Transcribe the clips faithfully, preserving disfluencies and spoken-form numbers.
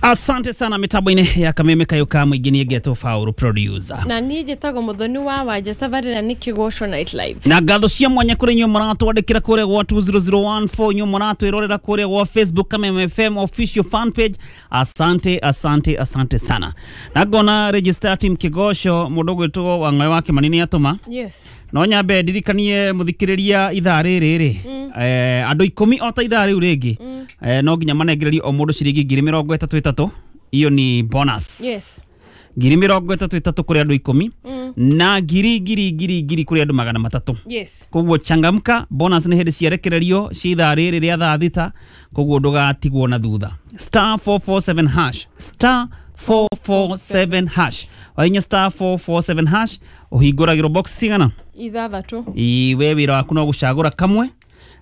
Asante sana mitambo-inĩ ya Kameme Kayo ka mũingĩ nĩ ngetwo Faulu producer. Na niĩ njĩtagwo Muthoni wa Wanja tabarĩra nĩ Kĩgoco Night Live. Na ngatho cia mwanya kũrĩ inyuĩ mũratwandĩkĩra kũrĩa gwa two zero zero one four, inyuĩ mũratwĩrorera kũrĩa gwa Facebook Kameme F M official fan page. Asante, asante, asante sana. Na ngona register team Kĩgoco mũndũ ũgwĩtwo Wang'aĩ wa Kĩmani nĩ atũma. Yes. No nyambe ndirikanie mũthikĩrĩria ithaa rĩrĩ rĩ, eh, andũ ikũmi o ta ithaa rĩu rĩngĩ, eh, no nginya manengererio o mũndũ ciringi ngiri mĩrongo ĩtatũ ĩtatũ. Iyo ni bonus. Yes. Ngiri mĩrongo ĩtatũ ĩtatũ kũrĩ andũ ikũmi, na ngiri ngiri ngiri ngiri kũrĩ andũ magana matatũ. Yes. Koguo changamka, bonus nĩ hĩndĩ ciarekererio cia ithaa rĩrĩ rĩa thaa thita, koguo ndũgatigwo na thutha. Star four four seven hash, star four four seven hash. Wainya star four four seven hash, ũhingũragĩrwo box cigana? Ithathatũ. Iwe wĩra waku no gũcagũra kamwe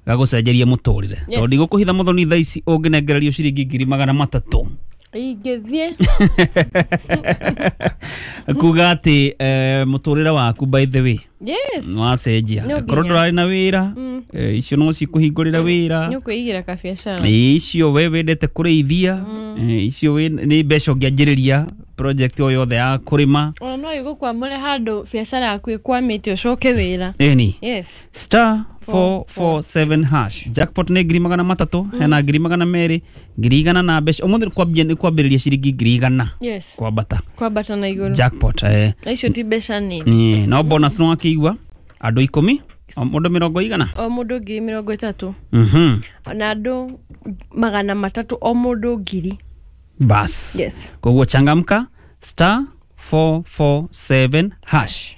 gagũcenjeria mũtũrĩre. Yes. Tondũ ndigũkũhitha Muthoni thaa ici ũngĩnengererio ciringi ngiri magana matatũ. Ingĩthiĩ. Kuga atĩ, eh, mũtũrĩre waku by the way. Yes. Nĩwacenjia. No Korwo nginya. ndũrarĩ na wĩra, eh, icio no cikũhingũrĩra wĩra. Nĩ ũkwĩigĩra kabiacara. Icio we wendete kũrĩithia, eh, icio nĩ mbeca ũngĩanjĩrĩria project o yothe ya kũrĩma. Ona no ĩgũkwamũre handũ biacara yaku ĩkwamĩte ũcoke wĩra. Ĩni. Yes. Star four four seven hash. Jackpot nĩ ngiri magana matatũ, hena ngiri magana merĩ, ngiri igana na mbeca. Ũmũthĩ kwambia nĩ kwambĩrĩria ciringi ngiri igana. Yes. Kwambata. Kwambata na igũrũ. Jackpot, eh. Na icio ti mbeca nini. Ni, no bonus no akĩigua andũ ikũmi, o mũndũ mĩrongo igana. O mũndũ ngiri mĩrongo ĩtatũ. Mhm. Na andũ magana matatũ o mũndũ ngiri. Bas. Yes. Koguo changamka, star four four seven hash.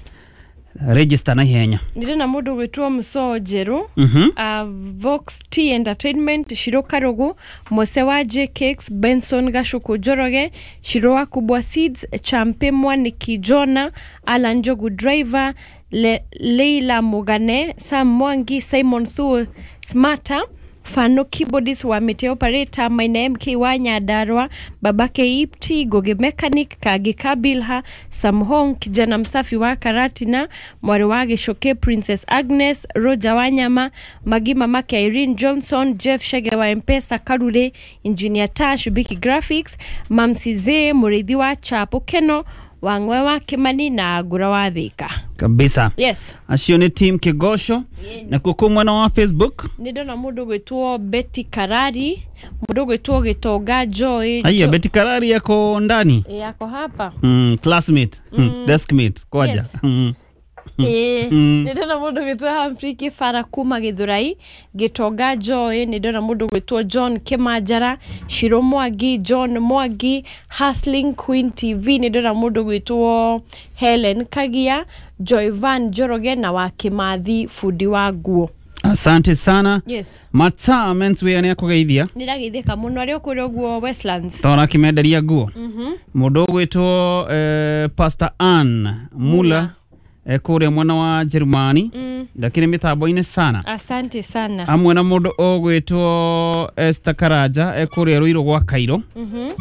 Register na ihenya. Ndĩrona mũndũ ũgwĩtwo Mũsoo Njerũ, Mhm. uh, Vox T Entertainment, Shiro Karugu, Mose wa J Cakes, Benson Gashuku Njoroge, Shiro wa Kubwa Seeds, Champe Mwaniki Jona, Alan Njogu Driver, Le Leila Mugane, Sam Mwangi, Simon Thuo Smarter, Fano Keyboardist wa Mete Operator, Maina M K wa Nyandarua, Babake Ipti, Goge Mechanic, Kage Kabilha, Sam Hong, kijana msafi wa Karatina, Mwari wa Gĩcoke, Princess Agnes, Roger Wanyama, Magi mamake Irene Johnson, Jeff Shege wa M-Pesa, Karure, Engineer Tash, Biki Graphics, Mamsi Zee, Mũrĩithi wa Chapo Keno, Wang'we wa Kimani na Ngũra wa Thika. Kabisa. Yes. Acio nĩ team Kĩgoco. Na kuo mwena wa Facebook nĩ ndona mũndũ ũgwĩtwo Betty Karari, mũndũ ũgwĩtwo Gĩtonga Joy. Aya, Jo- Betty Karari yako ndani. E, yako hapa. Mm, classmate. Mm. Deskmate kwaja. Yes. Mm. Ĩĩ, Mm. nĩ ndona mũndũ ũgwĩtwo Humphrey Kĩbara kuma Gĩthũrai, Gĩtonga Joy, nĩ ndona mũndũ ũgwĩtwo John Kĩmanjara, Shiro Mwangi, John Mwangi, Hustling Queen T V, nĩ ndona mũndũ ũgwĩtwo Helen Kagia, Joy Van Njoroge na wa Kĩmathi bundi wa nguo. Asante sana. Yes. Mataa menswear nĩ akũgeithia. Nĩ ndageithĩka mũno arĩ o kũrĩa ũguo Westlands. Tondũ akĩmenderia nguo. Mũndũ ũgwĩtwo, eh, Pastor Ann Mula, eh, kũrĩa mwena wa Jerumani, lakini mĩtambo-inĩ sana. Asante sana. Hamwe na mũndũ ũgwĩtwo Esther Karanja, eh, kũrĩa Ruiru gwa Cairo.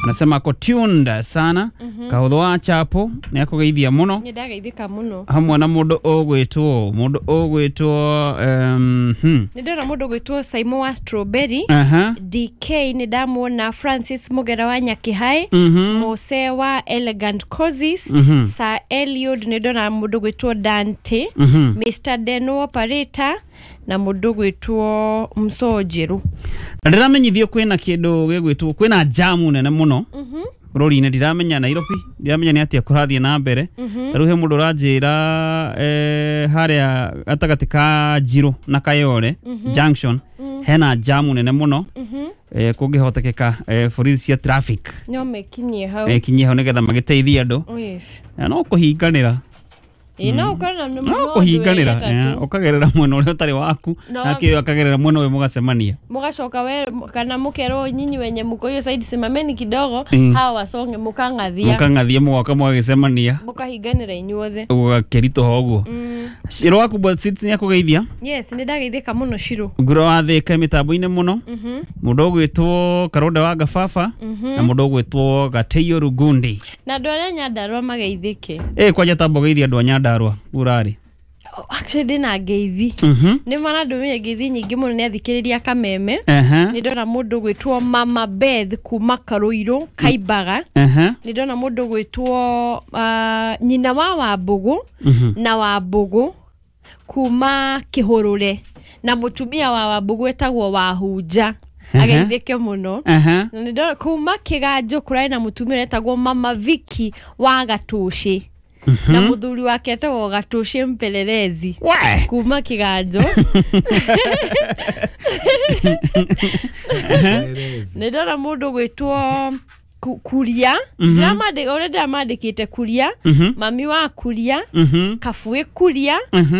Anasema ako tuned sana. Kahũthũ wa Chapo nĩ akũgeithia mũno. Nĩ ndageithĩka mũno. Hamwe na mũndũ ũgwĩtwo, mũndũ ũgwĩtwo, um, hmm. Nĩ ndona mũndũ ũgwĩtwo Simon wa Strawberry. Aha. D K nĩ ndamuona, Francis Mugera wa Nyakĩhae, Mhm. Mose wa Elegant Cozies, Mhm. Sir Eliud nĩ ndona mũndũ ũgwĩtwo Dante, Mhm. Mister Deno Operator na mũndũ ũgwĩtwo Msoo Njerũ. Na ndĩramenyithio kwĩna kĩndũ gĩgwĩtwo, kwĩna jamu nene mũno bũrũri-inĩ, ndiramenya Nairobi, ndiramenya nĩ atĩa kũrathiĩ na mbere. Ta rĩu he mũndũ ũranjĩra, eh, harĩa gatagatĩ ka Njirũ na Kayole Junction hena jamu nene mũno. Eh, kũngĩhotekeka, eh, borithi cia traffic no mekinyie hau. Mekinyie hau nĩgetha magĩteithie andũ. Oh, yes. Na no kũhinganĩra. Ĩ, no ũkorwo na No mũndũ kũhinganĩra, wĩ eh, ũkagerera mwena ũrĩa ũtarĩ waku, No. nake ũyũ akagerera mwena ũyũ mũgacemania. Mũgacoka we kana mũkerwo nyinyi wenye mũko hiyo side simameni kidogo, Mm. hawa wasonge mũkang'athia. Mũkang'athia mũgoka mũgagĩcemania. Mũkahinganĩra inyuothe. Gũgakĩritũha ũguo. Shiro wa Kubwa Seeds nĩ akũgeithia. Yes, nĩ ndageithĩka mũno Shiro. Nguro wa Thika mĩtambo-inĩ mũno. Mũndũ ũgwĩtwo Karonda wa Gababa na mũndũ ũgwĩtwo Gateio Rugundi. Na andũ arĩa Nyandarua mageithĩke. Ĩ, kwanja tamba ũgeithie andũ a Nyandarua urarĩ. Actually ndĩna ngeithi. Mhm. Nĩ marandũmĩire ngeithi nyingĩ mũno nĩ athikĩrĩria Kameme. Ehe. Nĩ ndona mũndũ gwĩtwo Mama Beth kuma Karũirũ Kaimbaga. Ehe. Nĩ ndona mũndũ gwĩtwo uh, nyina wa Wambũgũ na Wambũgũ kuma Kĩhũrũre na mũtumia wa Wambũgũ etagwo Wahunja. Ageithĩke mũno. Ehe. Na nĩ ndona kuma Kĩganjo kũrarĩ na mũtumia etagwo Mama Vicky wa Gatũcĩ na mũthuri wake etagwo Gatũcĩ Mpelelezi We. kuma Kĩganjo. Nĩ ndona mũndũ gwĩtwo Ku- Kuria. Ndĩramandĩ- ũrĩa ndĩramandĩkĩte Kuria, mami wa Kuria, Mhm. Kabuĩ Kuria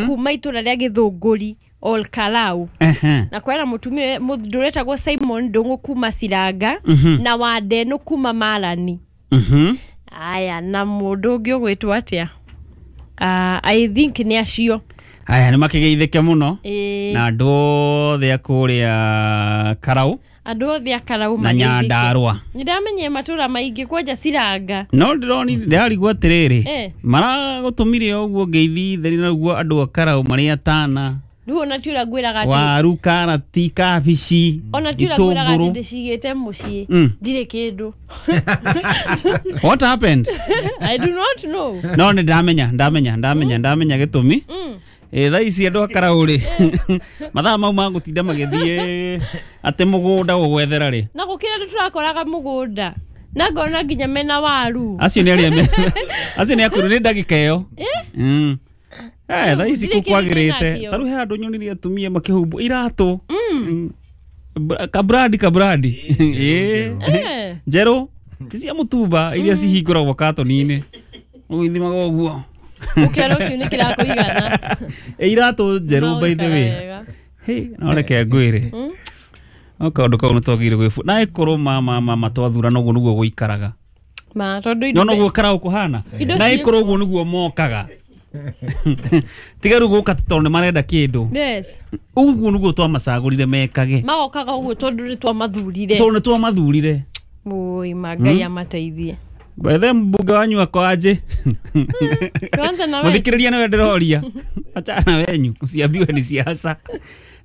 kuma itũra rĩa Gĩthũngũri Ol Kalau. Ehe. Na kwena mũtumia mũndũ ũretagwo Simon Ndũng'ũ kuma Ciranga na Wandenũ kuma Marani. Mhm. Aya, na mũndũ ũngĩ ũgwĩtwo atĩa? Uh, I think nĩ acio. Aya nĩ makĩgeithĩke mũno Ĩĩ, na andũ othe a kũrĩa Karau andũ othe a Karau na mageithĩke. Nyandarũa. Nĩ ndamenyire matũra maingĩ kwanja Ciranga. No ndĩroni ndĩrarigwo atĩrĩrĩ, Eh. maragũtũmire ũguo ngeithi theri na ũguo andũ a Karau marĩ atana Rĩu ona ti ũrĩa ngwĩraga atĩ waru, karati, kabici, ona ti ũrĩa ngwĩraga atĩ itũngũrũ. ndĩcigĩte mũciĩ Mm. ndirĩ kĩndũ. What happened? I do not know. No nĩ ndamenya ndamenya ndamenya ndamenya gĩtũmi. Ĩ thaa ici andũ a Karau rĩ, mathaa mau ma gũtinda magĩthiĩ atĩ mũgũnda gũgwethera rĩ, Na gũkĩra nĩ tũrakoraga mũgũnda na ngona nginya mena waru. acio nĩ arĩa me acio nĩ akũrũ nĩ ndagĩka ĩyo. Mm. Eh, thaa ici Ndirĩ kũ kĩndũ kwagĩrĩte ndĩnakĩo. ta rĩu he handũ nyonire atumia makĩhumbwo iratũ. Mm. Bra- kabrandi kabrandi. Ĩ. Eh. Njerũ ti cia mũtumba iria cihingũragwo katoni-inĩ ũgĩthimaga ũguo. Ũkĩona kĩu nĩ kĩrakũigana. Ĩ iratũ njerũ by the way. Wega. Hey, no reke ngwĩre no kaũndũ kau nĩ twagĩrĩire gwĩbu na ĩkorwo ma ma ma ma twathurana ũguo nĩguo gũikaraga. Ma tondũ indo No noguo Karau kũhana Indo na ciĩ ĩkorwo ũguo nĩguo mokaga. Tiga rĩu gũka tondũ nĩ marenda kĩndũ. Yes. Ũguo nĩguo twamacagũrire mekage Magokaga ũguo tondũ nĩ twamathurire. tondũ nĩ twamathurire. Oi, ma Ngai amateithie. Bethe mbunge wanyu akwanjĩ Tuanze na we. mũthikĩrĩria nĩwe ndĩroria achana wenyu usiambiwe ni siasa.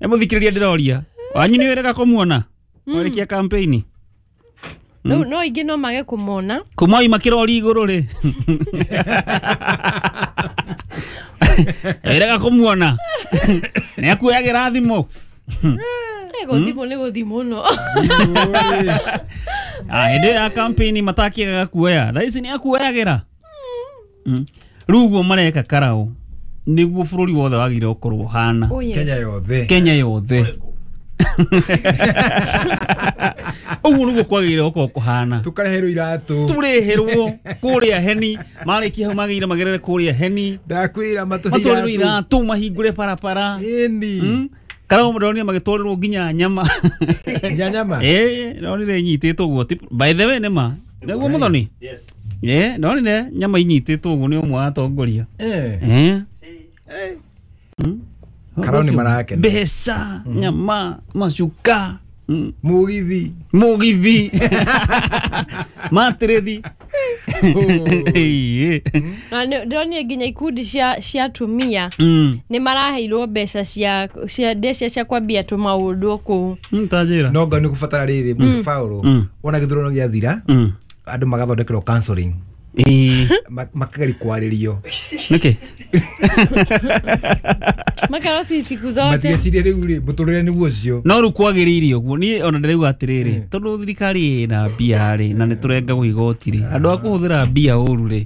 Nĩ mũthikĩrĩria ndĩroria wanyu nĩ wĩrega kũmuona mwarĩkia campaign Rĩu no ingĩ no mage kũmona. kuma oima kĩrori igũrũ rĩ wĩrega kũmuona nĩ akuoyagĩra thimũ. Eh, gũthimũ nĩ gũthimũ no. Ah, hĩndĩ ĩyo ya campaign matakĩagaga kuoya thaa ici nĩ akuoyagĩra. Mm. Rĩu ũguo mareka Karau nĩguo bũrũri wothe wagĩrĩire gũkorwo ũhana. Oh, yes. Kenya yothe. Kenya yothe. Ũguo nĩguo kwagĩrĩire gũkorwo kũhana. Tukareherwo iratũ. Tũreherwo kũrĩa heni marĩkia hau magĩrĩire magerere kũrĩa heni Ndakwĩra matũhe matwarĩrwo iratũ. iratũ mahingũre barabara. Ĩni. Mm. Karau ndonire magĩtwarĩrwo nginya nyama. Nginya nyama. Ĩ ndonire inyitĩtwo ũguo. Ti- By the way nĩ ma nĩguo Mũthoni? Yes. Ĩ ndonire nyama inyitĩtwo ũguo nĩ ũmwe wa atongoria. Eh. Eh. Eh. Karau nĩ marakena. Mbeca, nyama, macuka, mm, Mũgithi. mũgithi, matĩrĩthi. Ĩ. Na nĩ- ndĩronire nginya ikundi cia cia atumia Mm. nĩ maraheirwo mbeca cia cia ndecia cia kwambia tũmaũndũ kũu. Mm, ta njĩra. No nga nĩ kũbatara rĩrĩ Paul Mm. ona gĩthurano gĩathira Mm. andũ magathondekerwo counseling Ĩ. Ma- makageria kwarĩrio Nĩkĩ? Makarwo si siku zote. matigecirie rĩu rĩ mũtũrĩre nĩguo ũcio. No rĩu kwagĩrĩire ũguo niĩ ona ndĩrauga atĩrĩrĩ tondũ thirikari ĩna mbia rĩ na nĩ tũrengagwo igoti rĩ andũ a kũhũthĩra mbia ũru rĩ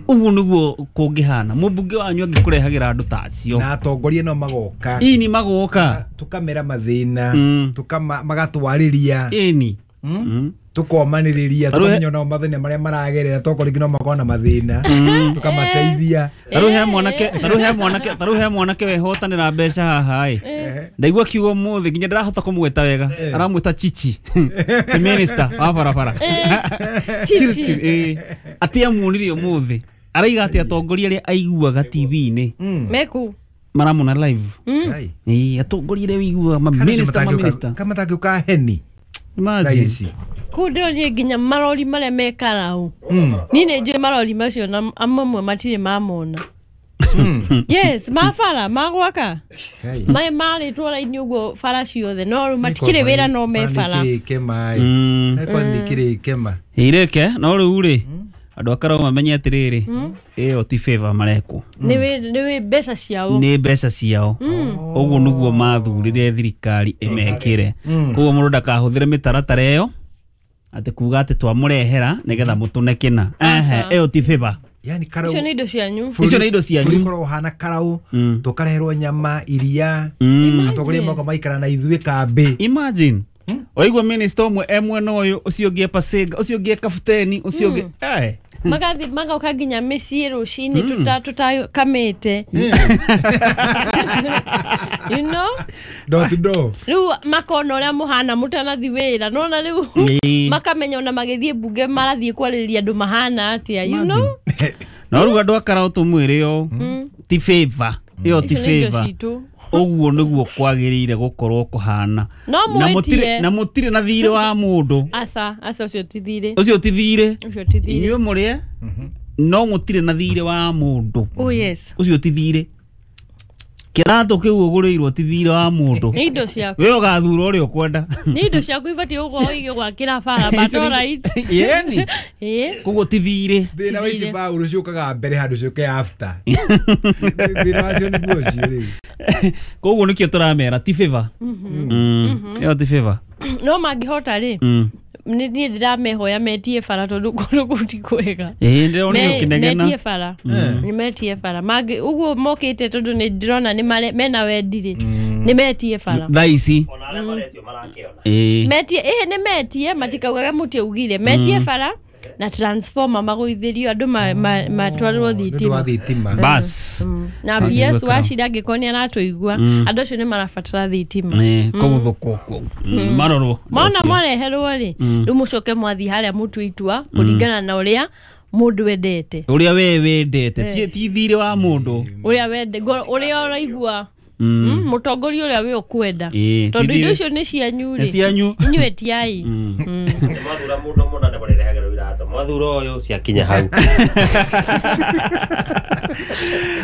ũguo nĩguo kũngĩhana mũmbunge wanyu angĩkũrehagĩra andũ ta acio Na atongoria no magoka ini magoka tukamera mathĩna Mm. tukama magatwarĩria ĩni Mm. tukomanĩrĩria Tarĩu he- tukamenya onao mathĩna marĩa maragerera tokorwo rĩngĩ no makorwo na mathĩna tukamateithia. Tarĩu he mwanake tarĩu he mwanake tarĩu he mwanake wehotanĩra mbeca haha ĩ ndaigua kiugo mũthĩ nginya ndĩrahota kũmwĩta wega aramwĩta chichi ti minister wa barabara. Chichi. Ĩ atĩ amuonirie ũmũthĩ araiga atĩ atongoria arĩa aiguaga T V-inĩ Meku. maramona live. Kai. Ĩ atongoria arĩa ũiguaga ma Kana ũcio minister ma matangĩũka- minister. kana matangĩũka heni thaa Imagine. ici. Kũu ndĩronire nginya marori marĩa me Karau. Niĩ nĩ njũĩ marori macio na amwe matirĩ mamona. Yes, ma bara magwaka. Kai. Maĩ marĩtwo raini ũguo bara ciothe no rĩu matikĩrĩ wĩra no me bara. Nĩkĩrĩke maĩ. Mm. Eko nĩkĩrĩke ma. Irĩke no rĩu rĩ andũ akarao mamenye atĩrĩrĩ ĩyo ti favor marekwo Nĩ wĩ nĩ wĩ mbeca ciao. nĩ mbeca ciao ũguo nĩguo mathurire thirikari ĩmekĩre koguo mũndũ ndakahũthĩre mĩtaratara ĩyo atĩ kuga atĩ twamũrehera nĩgetha mũtũne kĩna. Ehe, ĩyo ti favor. Yani karau. Icio nĩ indo cianyu. Icio nĩ indo cianyu. Bũrũri ũkoragwo ũhana karau tũkareherwo nyama iria atongoria moka maikara na ithuĩ kambĩ. Imagine waigua minister ũmwe e mwena ũyũ ũcio ũngĩ e Pasenga ũcio ũngĩ e Kabuteni ũcio ũngĩ eh Magathi magoka nginya mĩciĩ rũcinĩ tuta tutakamĩte. You know? Door to door. Rĩu makona ũrĩa mũhana mũtanathi wĩra nona rĩu Ĩĩ. makamenya ona magĩthiĩ mbunge marathiĩ kwarĩrĩria andũ mahana atĩa you know? No rĩu andũ akarao tũmwĩre ũũ ti favor ĩyo ti Icio nĩ indo favor citũ. ũguo nĩguo kwagĩrĩire gũkorwo kũhana. No Na mũtirĩ mwĩtie. na mũtirĩ na thirĩ wa mũndũ Aca, aca ũcio ti thirĩ. ũcio ti thirĩ Ũcio ti thirĩ. inyuĩ mũrĩe no mũtirĩ na thirĩ wa mũndũ Oh yes. ũcio ti thirĩ kĩratũ kĩu ũgũrĩirwo ti thirĩ wa mũndũ Nĩ indo ciaku. we ũgathura ũrĩa ũkwenda. Nĩ indo ciaku ibatiĩ gũkorwo igĩgwakĩra bara but all right. Yeni Ĩĩ. koguo ti thirĩ. Thĩna wa ici baũrũ ciũkaga mbere handũ ciũke after. Thĩna wacio nĩguo ũcio rĩu. Koguo nĩkĩo tũramera ti favor. Mm. Ĩyo ti favor. No mangĩhota rĩ Mm. nĩ niĩ ndĩramehoya metie bara tondũ kũndũ kũu ti kwega. Ĩĩ ndĩrona Me- ũkĩnegena. metie bara nĩ metie bara mangĩ ũguo mokĩte tondũ nĩ ndĩrona nĩ mare- mena wendi rĩ nĩ metie bara Thaa ici Ona arĩa maretio marakĩona. ĩĩ metie ĩhĩ nĩ metie matikaugaga mũtiaugire metie bara na transformer magũithĩrio andũ ma- ma- matwarĩrwo Nĩ ũndũ thitima wa thitima. bas na P S wacira angĩkorwo nĩ aratũigua andũ acio nĩ marabatara thitima. Nĩ kũgũthũkwo kuo marorwo Mona mwareherwo rĩ rĩu mũcoke mwathiĩ harĩa mũtue itua kũringana na ũrĩa mũndũ endete ũrĩa we wendete ti ti thirĩ wa mũndũ ũrĩa wende ngoro ũrĩa ũraigua Mm, mũtongoria ũrĩa we ũkwenda Ĩĩ, tondũ ti indo thirĩ. icio nĩ cianyu Nĩ rĩ cianyu. inyuĩ etiai. Nĩ mwathura mũndũ mũna nĩ mũrĩrehagĩrwo iratũ. Mwathura ũyũ ciakinya hau.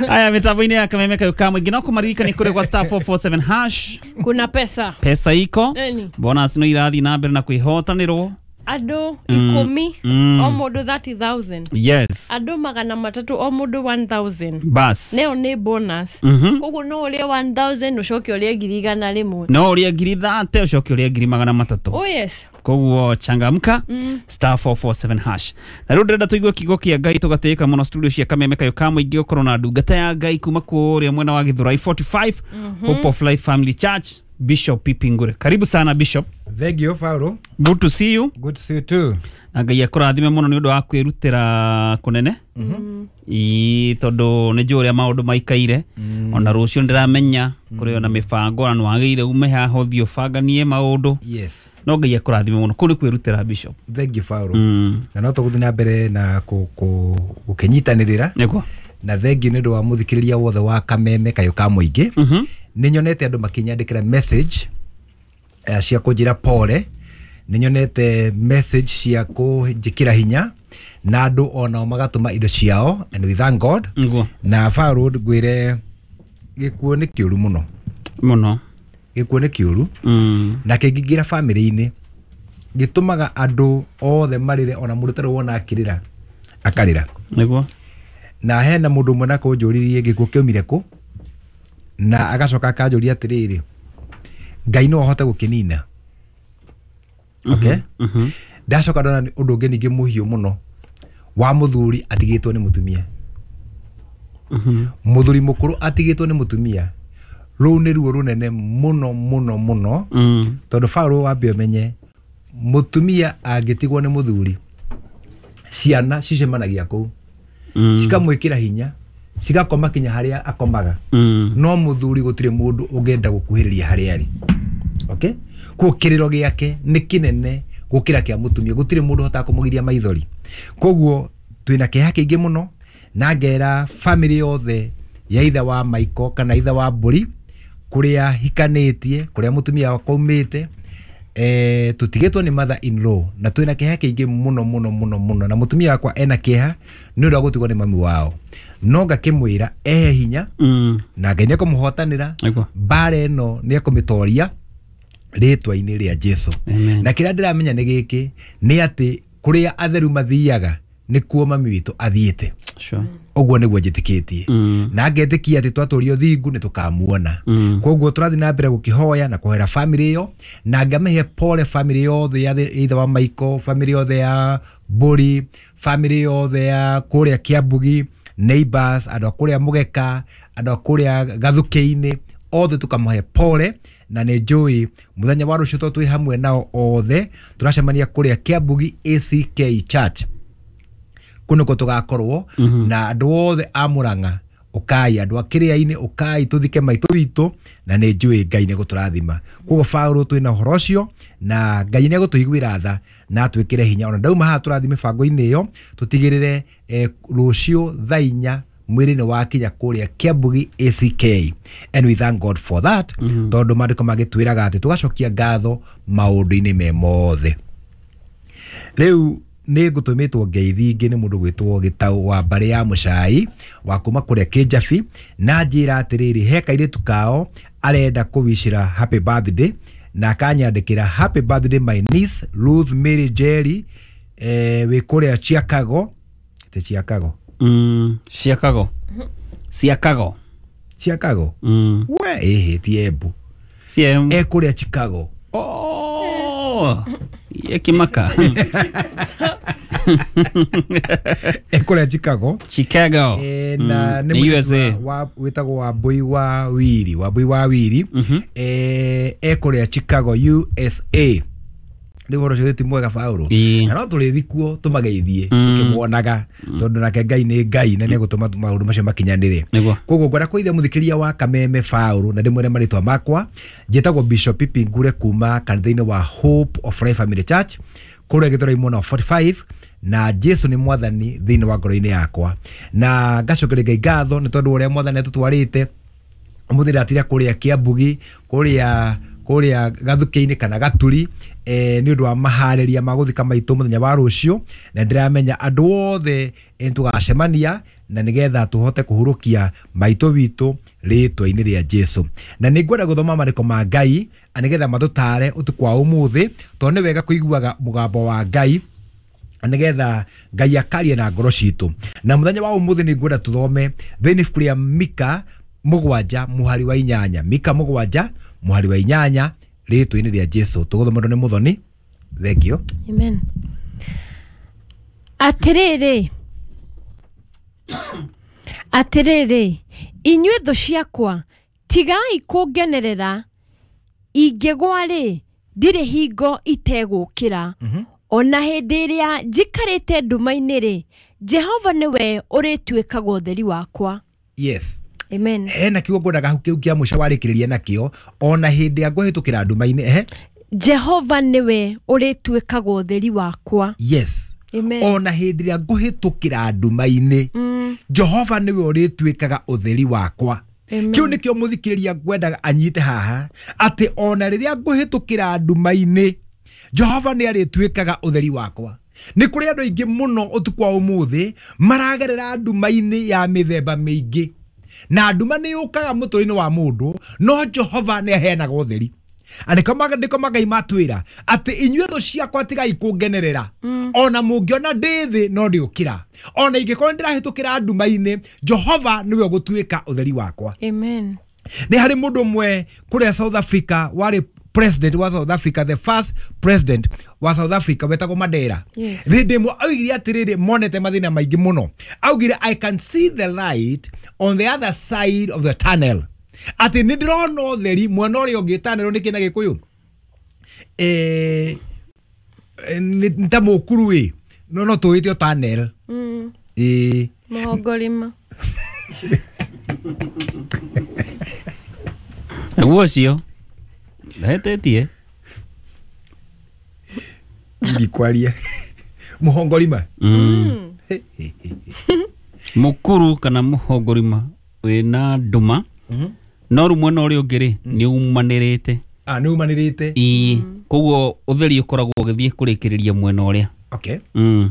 Aya mitambo-inĩ ya kameme kayo ka mũingĩ no kũmaririkania kũrĩ gwa star four four seven hash Kuna pesa pesa iko Eni. bonus no irathiĩ na mbere na kwĩhotanĩrwo andũ ikũmi Mm. o mũndũ thirty thousand yes andũ magana matatũ o mũndũ one thousand bas neo nĩ bonus Mhm. koguo no ũrĩe one thousand ũcoke ũrĩe ngiri igana rĩmwe. no ũrĩe ngiri thate ũcoke ũrĩe ngiri magana matatũ Oh yes. koguo changamka star four four seven hash na rĩu ndĩrenda tũigue kiugo kĩa Ngai tũgatĩĩka mũno studio cia kameme kayo ka mũingĩ gũkorwo na ndungata ya Ngai kuma kũrĩa mwena wa Githurai forty-five Hope of Life Family Church Bishop Pipi Ngure. Karibu sana Bishop. Thank you Paulo. Good to see you. Good to see you too. Na Ngai akũrathime mũno nĩ ũndũ wa kwĩrutĩra kũnene ii tondũ nĩ njũĩ ũrĩa maũndũ maikaire ona rũciũ ndĩramenya kũrĩ ona mĩbango na nĩwagĩrĩire ume haha ũthiĩ ũbanganie maũndũ Yes. no Ngai akũrathime mũno kũu nĩ kwĩrutĩra Bishop. Thank you Paulo. Mm. Na no tũgũthiĩ na mbere na kũ- kũ- gũkĩnyitanĩrĩra Nĩguo. na thengiũ nĩ ũndũ wa mũthikĩrĩria wothe wa kameme kayũ ka mũingĩ. Mhm. Nĩ nyonete andũ makĩnyandĩkĩra message eh, cia kũnjĩra pole nĩ nyonete message cia kũnjĩkĩra hinya na andũ onao magatũma indo ciao and we thank God. Nĩguo. Na Paulo ngwĩre gĩkuũ nĩ kĩũru mũno. Mũno. Gĩkuũ nĩ kĩũru Mm. na kĩngĩingĩra bamĩrĩ-inĩ gĩtũmaga andũ othe marĩre ona mũndũ ũtarĩ wona akĩrĩra akarĩra. Nĩguo. Na hena mũndũ ũmwe na kũnjũririe gĩkuũ kĩaumire kũ na agacoka akanjũria atĩrĩrĩ Ngai no ahote gũkĩnina. Okay? Mhm. Ndacoka ndona nĩ ũndũ ũngĩ ningĩ mũhiũ mũno wa mũthuri atigĩtwo nĩ mũtumia. Mhm. Mũthuri mũkũrũ atigĩtwo nĩ mũtumia rũu nĩ ruo rũnene mũno mũno mũno Mm. tondũ Paulo wambe ũmenye mũtumia angĩtigwo nĩ mũthuri ciana cicemanagia kũu Mm. cikamwĩkĩra hinya cigakoma kinya harĩa akomaga Mm. no mũthuri gũtirĩ mũndũ ũngĩenda gũkuhĩrĩria harĩa arĩ. Okay? Koguo kĩrĩro gĩake nĩ kĩnene gũkĩra kĩa mũtumia gũtirĩ mũndũ ũhotaga kũmũgiria maithori. Koguo twĩna kĩeha kĩingĩ mũno na ngera family yothe ya ithe wa Michael kana ithe wa Mbũri kũrĩa hikanĩtie kũrĩa mũtumia wakwa aumĩte eh, tũtigĩtwo nĩ mother in law na twĩna kĩeha kĩingĩ mũno mũno mũno mũno, na mũtumia wakwa ena kĩeha nĩ ũndũ wa gũtigwo nĩ mami wao, no ngakĩmwĩra ehe hinya Mm. na Ngai nĩ ekũmũhotanĩra Nĩguo. mbara ĩno nĩ ekũmĩtoria rĩtwa-inĩ rĩa Jesu. Amen. Na kĩrĩa ndĩramenya nĩ gĩkĩ, nĩ atĩ kũrĩa atheru mathiaga nĩkuo mami witũ athiĩte. Sure. Ũguo nĩguo njĩtĩkĩtie Mm. na ngetĩkia atĩ twatũria ũthingu nĩ tũkamuona. Mm. Koguo tũrathiĩ na mbere gũkĩhoya na kũhoera family ĩyo, na ngamĩhe pole family yothe ya the- ithe wa Michael, family yothe ya Mbũri, family yothe ya kũrĩa Kĩambugi, neighbors, andũ a kũrĩa Mũgeka, andũ a kũrĩa Gathukĩ-inĩ, othe tũkamahe pole, na nĩ njũĩ mũthenya wa rũciũ tondũ twĩ hamwe nao othe tũracemania kũrĩa Kĩambugi A C K Church, kũu nĩkuo tũgakorwo. Mhm. Na andũ othe a Mũrang'a ũkai, andũ a kĩrĩa-inĩ ũkai, tũthike maitũ witũ, na nĩ njũĩ Ngai nĩ gũtũrathima. Koguo Paũlũ twĩna ũhoro ũcio, na Ngai nĩ egũtũiguĩra tha na atwĩkĩre hinya. Ona ndauma haha tũrathiĩ mĩbango-inĩ ĩyo, tũtigĩrĩre eh, rũciũ thaa inya mwĩrĩ nĩ wakinya kũrĩa Kĩambugi A C K, and we thank God for that. Mhm. Tondũ maandĩko magĩtwĩraga atĩ tũgacokia ngatho maũndũ-inĩ me mothe. Rĩu nĩ ngũtũmĩtwo ngeithi ingĩ nĩ mũndũ gwĩtwo Gĩtaũ wa mbarĩ ya Mũcai wa kuma kũrĩa Kĩnjabi, na njĩra atĩrĩrĩ, he kairĩtu kao arenda kũwicĩra happy birthday, na akanyandĩkĩra happy birthday my niece Ruth Mary Jerry, eh, wĩ kũrĩa Chicago. Te Chicago? Mm. Chicago. Chicago. Chicago. Mm. We ĩhĩ ti Embu. C M. E kũrĩa Chicago. Oh. Ye kimaka. E kũrĩa Chicago. Chicago. Eh, na Mm. nĩ Nĩ mũirĩtu U S A. wa- wa- wĩtagwo Wambui wa Wiri, Wambui wa Wiri. Mhm. Eh, e kũrĩa Chicago U S A. Rĩu ũhoro ũcio ti mwega Paũlũ. Ĩĩ. Na no tũrĩthiĩ kuo tũmageithie Mm. tũkĩmuonaga, tondũ nake Ngai nĩ Ngai na nĩegũtũma maũndũ macio makinyanĩre. Nĩguo. Koguo ngwenda kũgeithia mũthikĩria wa Kameme Paũlũ na ndĩmwĩre marĩtwa makwa. Njĩtagwo Bishop Pipi Ngure kuma kanitha-inĩ wa Hope of Life Family Church kũrĩa Gĩthũrai mwena wa forty-five, na Jesu nĩ mwathani thĩinĩ wa ngoro-inĩ yakwa, na ngacokeria Ngai ngatho nĩ tondũ ũrĩa mwathani atũtwarĩte. Ũmũthĩ ndatira kũrĩa Kĩambugi, kũrĩa kũrĩa Gathukĩ-inĩ kana Gaturi, eh, nĩ ũndũ wa maharĩria ma gũthika maitũ mũthenya wa rũciũ, na ndĩramenya andũ othe eh, tũgacemania na nĩgetha tũhote kũhurũkia maitũ witũ rĩtwa-inĩ rĩa Jesu. Na nĩ ngwenda gũthoma marĩko ma Ngai nĩgetha matũtare ũtukũ wa ũmũthĩ, tondũ nĩ wega kũiguaga mũgambo wa Ngai nĩgetha Ngai akarie na ngoro citũ. Na mũthenya wa ũmũthĩ nĩ ngwenda tũthome thĩinĩ ibuku rĩa Mika mũgwanja mũhari wa inyanya, Mika mũgwanja mũhari wa inyanya rĩtwa-inĩ rĩa Jesu. Tũgũthomerwo nĩ Mũthoni. Thank you. Amen. Atĩrĩrĩ, atĩrĩrĩ, inyuĩ thũ ciakwa, tigai kũngenerera, ingĩgwa rĩ, ndirĩ hingo itegũkĩra. Ona hĩndĩ ĩrĩa njikarĩte nduma-inĩ rĩ, Jehova nĩwe ũrĩtuĩkaga ũtheri wakwa. Yes. Amen. Hena kiugo ngwendaga kĩu kĩa mũico warĩkĩrĩria nakĩo, ona hĩndĩ ya ngũhĩtũkĩra nduma-inĩ, ehe. Jehova nĩwe ũrĩtuĩkaga ũtheri wakwa. Yes. Amen. Ona hĩndĩ ĩrĩa ngũhĩtũkĩra nduma-inĩ, Mm. Jehova nĩwe ũrĩtuĩkaga ũtheri wakwa. Amen. Kĩu nĩkĩo mũthikĩrĩria ngwendaga anyite haha, atĩ ona rĩrĩa ngũhĩtũkĩra nduma-inĩ, Jehova nĩ arĩtuĩkaga ũtheri wakwa. Nĩ kũrĩ andũ aingĩ mũno ũtukũ wa ũmũthĩ maragerera nduma-inĩ ya mĩthemba mĩingĩ, na nduma nĩ yũkaga mũtũrĩre-inĩ wa mũndũ, no Jehova nĩ aheanaga ũtheri. Andĩko maandĩko ma Ngai matwĩra atĩ inyuĩ thũ ciakwa tigai kũngenerera, ona mũngĩona ndĩ thĩ no ndĩũkĩra, ona ingĩkorwo nĩndĩrahĩtũkĩra nduma-inĩ, Jehova nĩwe ũgũtuĩka ũtheri wakwa. Amen. Nĩ harĩ mũndũ ũmwe kũrĩa South Africa warĩ president wa South Africa, the first president wa South Africa wetagwo Mandela. Yes. Hĩndĩ ĩmwe augire atĩrĩrĩ, monete mathĩna maingĩ mũno, augire I can see the light on the other side of the tunnel, atĩ nĩ ndĩrona ũtheri mwena ũrĩa ũngĩ. Tunnel nĩ kĩ na Gĩkũyũ? Eh, eh, nĩ ta mũkuru ĩ, no no tũwĩte tunnel. Mm. Ĩ. Mũhongorima. Naguo ũcio ndahetetie Ndikwaria mũhongorima. Mm. Mũkuru kana mũhongorima wĩna nduma, no rĩu mwena ũrĩa ũngĩ rĩ nĩ umanĩrĩte. Ah, nĩ umanĩrĩte. Ĩĩ, koguo ũtheri ũkoragwo ũgĩthiĩ kũrĩkĩrĩria mwena ũrĩa. Okay. Mm.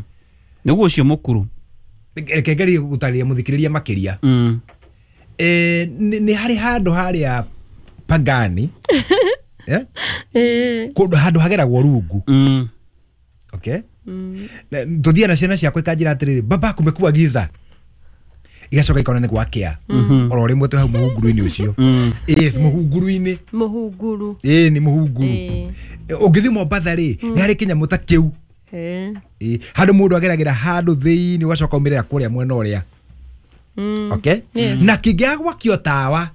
Nĩguo ũcio mũkuru. Reke ngerie gũtarĩria mũthikĩrĩria makĩria. Mm. Eh, nĩ nĩ harĩ handũ harĩa Pagani, eh? Eh. Kũndũ handũ hageragwo rungu. Mm. Okay. Na- tũthiaga na ciana ciakwa ikanjĩra atĩrĩrĩ, baba, kumekuwa giza, igacoka ikona nĩ gwakĩa oro rĩmwe twĩ hau mũhunguru-inĩ ũcio. Mm. Yes, mũhunguru-inĩ. Mũhunguru. Ĩĩ, nĩ mũhunguru. Eh. Ũngĩthiĩ Mombatha rĩ, nĩ harĩ kĩnyamũ ta kĩu. Eh. Ĩĩ, handũ mũndũ ageragĩra handũ thĩinĩ ũgacoka umĩrĩra kũrĩa mwena ũrĩa. Mm. Okay. Yes. Na kĩngĩaga gwakio tawa,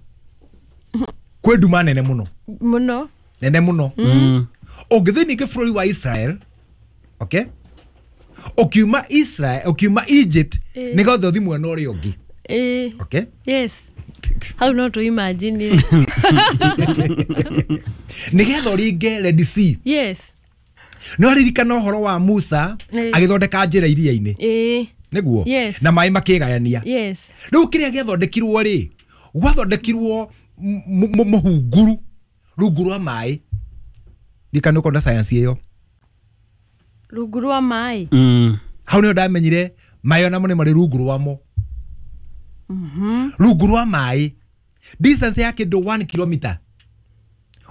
kwĩ nduma nene mũno. Mũno. Nene mũno. Mm. Ũngĩthiĩ ningĩ bũrũri wa Israel, okay, ũkiuma Israel, ũkiuma Egypt, Eh. nĩgetha ũthiĩ mwena ũrĩa ũngĩ. Eh. Okay. Yes. Hau no tũ imagine. Nĩgetha ũringe Red Sea. Yes. No ririkana ũhoro wa Musa Eh. agĩthondeka njĩra iria-inĩ? Eh. Nĩguo. Yes. Na maĩ makĩgayania. Yes. Rĩu kĩrĩa gĩathondekirwo rĩ, gwathondekirwo m- m- mũhunguru rungu rwa maĩ. Ndikana ũkona science ĩyo. Rungu rwa maĩ. Mm. Hau nĩho ndamenyire maĩ onamo nĩ marĩ rungu rwamo. Rungu rwa maĩ, distance ya kĩndũ one kilometer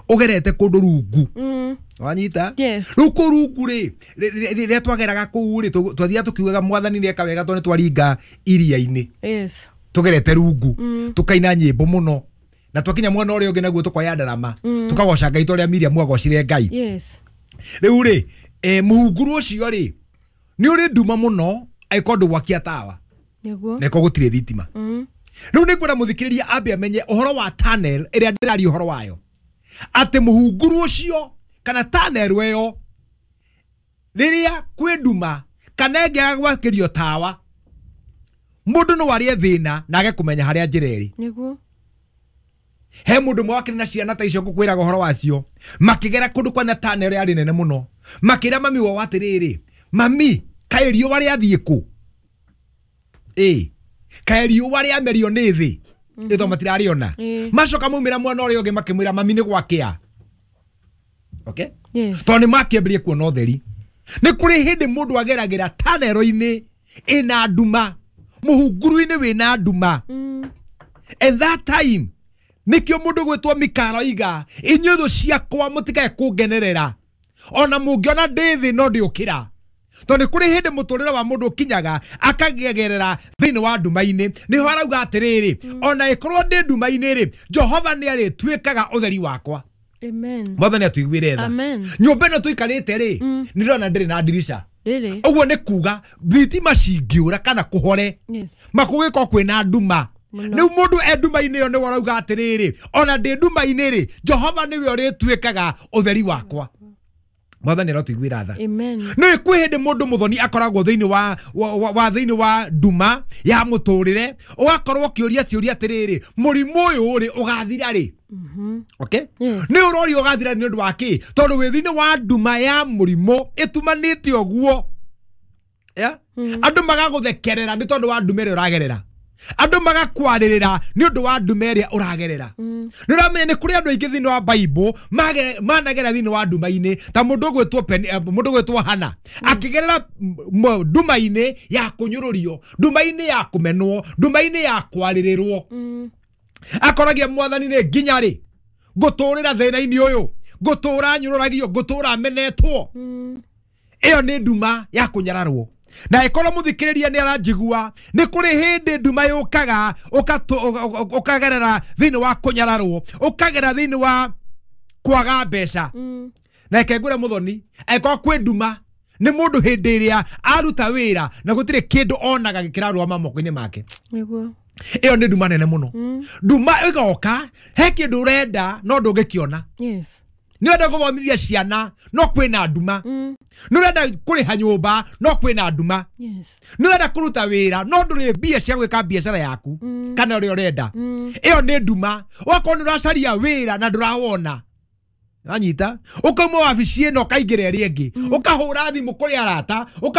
ũgerete kũndũ rungu. Mm. Wanyita? Yes. Rĩu kũu rungu rĩ, rĩrĩa twageraga kũu rĩ, tũ- twathiaga tũkiugaga mwathani nĩeka wega tondũ nĩtwaringa iria-inĩ Yes. tugerete rungu, tukaina nyĩmbo mũno, na twakinya mwena ũrĩa ũngĩ naguo tũkoya ndarama, tukagoca Ngai ta ũrĩa Miriam agocire Ngai. Yes. Rĩu rĩ, eh, mũhunguru ũcio rĩ nĩ ũrĩ nduma mũno angĩkorwo ndũgwakia tawa. Nĩguo. Na ĩkorwo gũtirĩ thitima. Mm. Rĩu nĩ ngwenda mũthikĩrĩria ambe amenye ũhoro wa tunnel ĩrĩa ndĩraria ũhoro wayo, atĩ mũhunguru ũcio kana tunnel ĩyo, rĩrĩa kwĩ nduma kana ĩngĩaga gwakĩrio tawa, mũndũ no arĩe thĩna na age kũmenya harĩa njĩra ĩrĩ. Nĩguo. He mũndũ ũmwe wakĩrĩ na ciana ta icio ngũkwĩraga ũhoro wacio, makĩgera kũndũ kwana tunnel yarĩ nene mũno, makĩra mami wao atĩrĩrĩ, mami, kaĩ riũa rĩathiĩ kũ? Ĩ, kaĩ riũa rĩamerio nĩ thĩ ĩtho matirarĩona? Ĩ. Macoka maumĩra mwena ũrĩa ũngĩ makĩmwĩra, mami, nĩ gwakĩa. Okay. Yes. Tondũ nĩ makĩambĩrĩria kuona ũtheri. Nĩ kũrĩ hĩndĩ mũndũ ageragĩra tanero-inĩ ĩna nduma, mũhunguru-inĩ wĩna nduma. Mm. At that time nĩkĩo mũndũ gwĩtwo Mikaro iga, inyuĩ thũ ciakwa mũtikae kũngenerera, ona mũngĩona ndĩ thĩ no ndĩũkĩra, tondũ nĩ kũrĩ hĩndĩ mũtũrĩre wa mũndũ ũkinyaga akagerera thĩinĩ wa nduma-inĩ. Nĩho arauga atĩrĩrĩ, ona ĩkorwo ndĩ nduma-inĩ rĩ, Jehova nĩ arĩtuĩkaga ũtheri wakwa. Amen. Mwathani atuiguĩre tha. Amen. Nyũmba ĩno tũikarĩte rĩ, nĩ ndĩrona ndĩrĩ na ndirica. Rĩrĩ. Ũguo nĩ kuga thitima cingĩũra kana kũhore, Yes. makũgĩkorwo kwĩna nduma. Mũno. Rĩu mũndũ e nduma-inĩ ĩyo nĩwe ũrauga atĩrĩrĩ, ona ndĩ nduma-inĩ rĩ, Jehova nĩwe ũrĩtuĩkaga ũtheri wakwa. Mwathani arotũiguĩra tha. Amen. Nĩ kwĩ hĩndĩ mũndũ mũthoni akoragwo thĩinĩ wa, wa, wa, wa thĩinĩ wa nduma ya mũtũrĩre, ũgakorwo ũkĩũria ciũria atĩrĩrĩ, mũrimũ ũyũ rĩ ũgathira rĩ? Okay. Yes. Nĩ ũroria ũgathira nĩ ũndũ wa kĩ? Tondũ wĩ thĩinĩ wa nduma ya mũrimũ ĩtumanĩte ũguo. Yeah? Andũ magagũthekerera nĩ tondũ wa nduma ĩrĩa ũragerera, andũ magakwarĩrĩra nĩ ũndũ wa nduma ĩrĩa ũragerera. Nĩ ũramenya nĩ kũrĩ andũ aingĩ thĩinĩ wa Bible mage- managera thĩinĩ wa nduma-inĩ, ta mũndũ ũgwĩtwo Pen- eh, mũndũ ũgwĩtwo Hana akĩgerera m- nduma-inĩ ya kũnyũrũrio, nduma-inĩ ya kũmenwo, nduma-inĩ ya kwarĩrĩrwo. Mm. Akoragia mwathani, nĩ nginya rĩ ngũtũrĩra thĩna-inĩ ũyũ, ngũtũra nyũrũragio, ngũtũra menetwo? Mm. Ĩyo nĩ nduma ya kũnyararwo. Na ĩkorwo mũthikĩrĩria nĩ aranjigua, nĩ kũrĩ hĩndĩ nduma yũkaga ũkatũ- ũka- ũka- ũkagerera thĩinĩ wa kũnyararwo, ũkagera thĩinĩ wa kwaga mbeca. Mm. Na reke ngwĩre mũthoni, angĩkorwo kwĩ nduma nĩ mũndũ hĩndĩ ĩrĩa aruta wĩra na gũtirĩ kĩndũ onaga gĩkĩrarũgama moko-inĩ make. Nĩguo. Ĩyo nĩ nduma nene mũno. Mm. Nduma ĩgoka, he kĩndũ ũrenda no ndũngĩkĩona. Yes. Nĩ ũrenda gũthomithia ciana no kwĩna nduma. Mm. Nĩ ũrenda kũrĩha nyũmba no kwĩna nduma. Yes. Nĩ ũrenda kũruta wĩra no ndũrĩ mbia cia gwĩka biacara yaku Mm. kana ũrĩa ũrenda. Mm. Ĩyo nĩ nduma. Ũgakorwo nĩ ũracaria wĩra na ndũrawona. Wanyita, ũkauma wabici ĩno ũkaingĩra ĩrĩa ĩngĩ, ũkahũra thimũ kũrĩ arata ũka